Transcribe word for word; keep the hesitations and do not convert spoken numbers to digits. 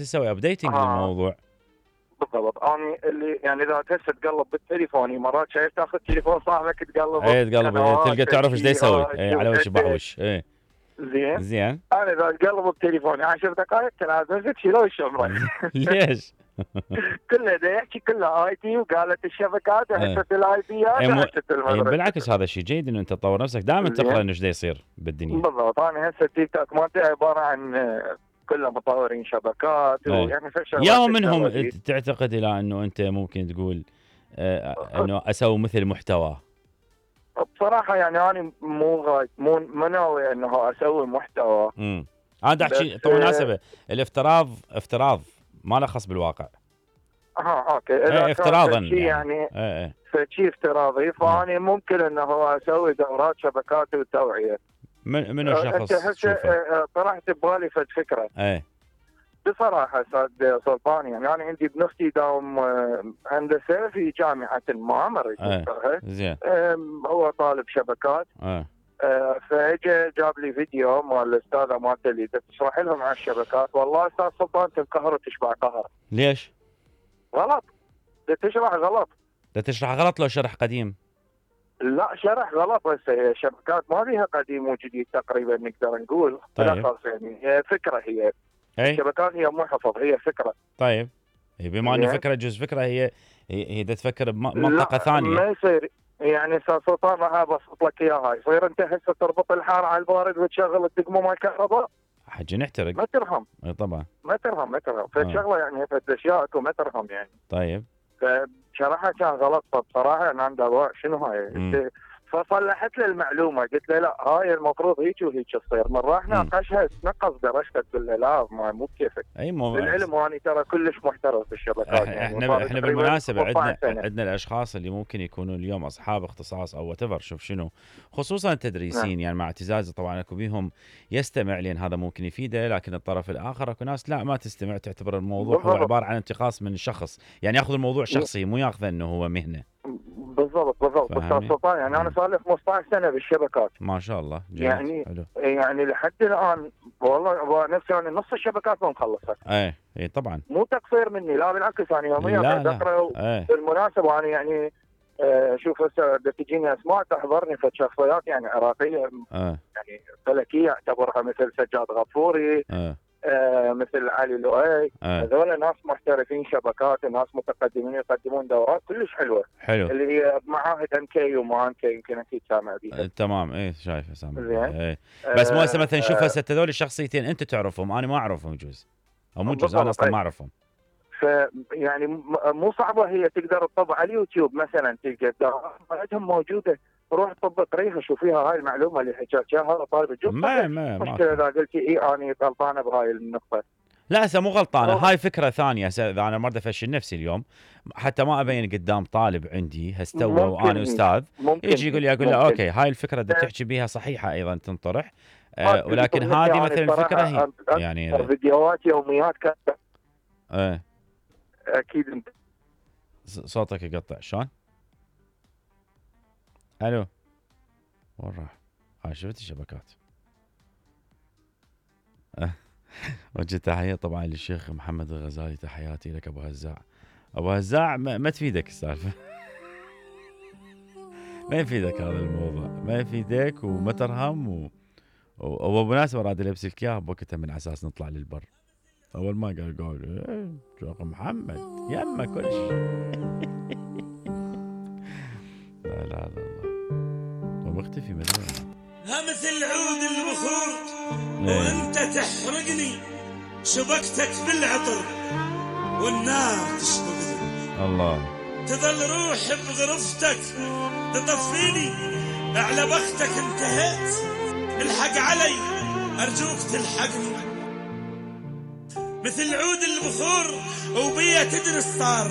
يسوي ابديتنج آه. للموضوع. بالضبط. انا اللي يعني اذا هسه تقلب بالتليفون مرات شايف تاخذ تليفون صاحبك تقلب اي تقلب تلقى تعرف ايش يسوي اي على وش بحوش اي زين زين. انا اذا تقلب بتليفوني عشر دقائق تنازل شيلوا الشمره. ليش؟ كله دا يحكي كله اي تي وقالت الشبكات وحسه الاي بيات وحسه المدرسه. بالعكس هذا شيء جيد انه انت تطور نفسك دائما تقرا انه ايش يصير بالدنيا. بالضبط. انا هسه التيك توك مالتي عباره عن كله مطورين شبكات ويعني يا منهم تعتقد الى انه انت ممكن تقول آه انه اسوي مثل محتوى؟ بصراحه يعني انا مو غاية مو مو ناوي انه اسوي محتوى. امم هذا شيء طبعا مناسبه الافتراض افتراض ما له خص بالواقع. اه اوكي اذا ايه افتراضا يعني, يعني ايه ايه فشي افتراضي فاني ممكن انه اسوي دورات شبكات وتوعيه. من منو شخص انت هسه طرحت ببالي فد فكره. ايه بصراحه استاذ سلطان يعني انا عندي ابن اختي داوم هندسه في جامعه ما مريت ايه زين هو طالب شبكات. ايه آه فاجى جاب لي فيديو مال الاستاذه مالته اللي تشرح لهم عن الشبكات. والله استاذ سلطان تنقهر وتشبع قهر. ليش؟ غلط. تشرح غلط. تشرح غلط لو شرح قديم؟ لا شرح غلط. بس الشبكات ما فيها قديم وجديد تقريبا نقدر نقول. طيب. يعني هي فكره هي. أي؟ الشبكات هي مو حفظ هي فكره. طيب بما انه فكره جزء فكره هي هي, هي تفكر بمنطقه ثانيه. ما يصير يعني استاذ سلطان راح ابسط لك اياها. يصير انت هسه تربط الحار على البارد وتشغل الدقمه مال الكهرباء حجي نحترق. ما ترهم. اي طبعا ما ترهم ما ترهم فالشغله يعني فد اشياء اكو ما ترهم يعني. طيب فشرحها كان غلط. فبصراحه انا عندي ضوء شنو هاي. فصلحت له المعلومه قلت له لا هاي المفروض هيك وهيك تصير. من راح ناقشها تنقص درجتك تقول له لا ما مو بكيفك. اي مو العلم واني ترى كلش محترف بالشبكات. يعني احنا احنا بالمناسبه عندنا عندنا الاشخاص اللي ممكن يكونوا اليوم اصحاب اختصاص او وات ايفر شوف شنو خصوصا التدريسين. يعني مع اعتزازي طبعا اكو بيهم يستمع لان هذا ممكن يفيده لكن الطرف الاخر اكو ناس لا ما تستمع تعتبر الموضوع هو عباره عن انتقاص من الشخص. يعني ياخذ الموضوع شخصي مو ياخذه انه هو مهنه. بالضبط بالضبط استاذ سلطان يعني انا صار لي خمسة عشر سنه بالشبكات. ما شاء الله جيد. يعني حلو. يعني لحد الان والله نفسي يعني نص الشبكات ما مخلصها. ايه اي طبعا مو تقصير مني لا بالعكس انا يوميا قاعد اقرا. بالمناسبه انا يعني آه شوف هسه تجيني اسماء تحضرني في شخصيات يعني عراقيه آه. يعني فلكيه اعتبرها مثل سجاد غفوري. آه. آه مثل علي لؤي. هذول آه. ناس محترفين شبكات ناس متقدمين يقدمون دورات كلش حلوه. حلو. اللي هي معاهد ام كي وما ام كي يمكن اكيد سامع بيها. آه تمام ايه شايفه سامع. ايه آه بس مو هسه مثلا شوف هسه هذول الشخصيتين انت تعرفهم انا ما اعرفهم جوز او مو جوز انا اصلا ما اعرفهم. ف يعني مو صعبه هي تقدر تطبع على اليوتيوب مثلا تلقى عندهم موجوده روح طب قريها شوفيها هاي المعلومه اللي حكيت اياها هذا طالب الجوب. ما ما مشكله اذا قلتي اي انا غلطانه بهاي النقطه. لا هسه مو غلطانه هاي فكره ثانيه. هسه اذا انا مرضى افشل نفسي اليوم حتى ما ابين قدام طالب عندي هستوى وانا استاذ يجي يقول لي اقول له اوكي هاي الفكره اللي تحكي بيها صحيحه ايضا تنطرح آه ولكن هذه يعني مثلا الفكره هي يعني فيديوهات يوميات كانت ايه اكيد انت صوتك يقطع شلون؟ الو وين راح؟ هاي شفت الشبكات. وجه تحيه طبعا للشيخ محمد الغزالي تحياتي لك ابو هزاع. ابو هزاع ما, ما تفيدك السالفه. ما يفيدك هذا الموضوع ما يفيدك وما ترهم و... وبمناسبه راد البس لك اياها بوقتها من اساس نطلع للبر. اول ما قال قال ايه شيخ محمد يمه كل شيء. لا لا لا ومختفي مدري ها مثل عود البخور وانت تحرقني شبكتك بالعطر والنار تشبكني. الله تظل روح بغرفتك تطفيني على بختك انتهيت الحق علي ارجوك تلحقني. مثل عود البخور وبيا تدري الصار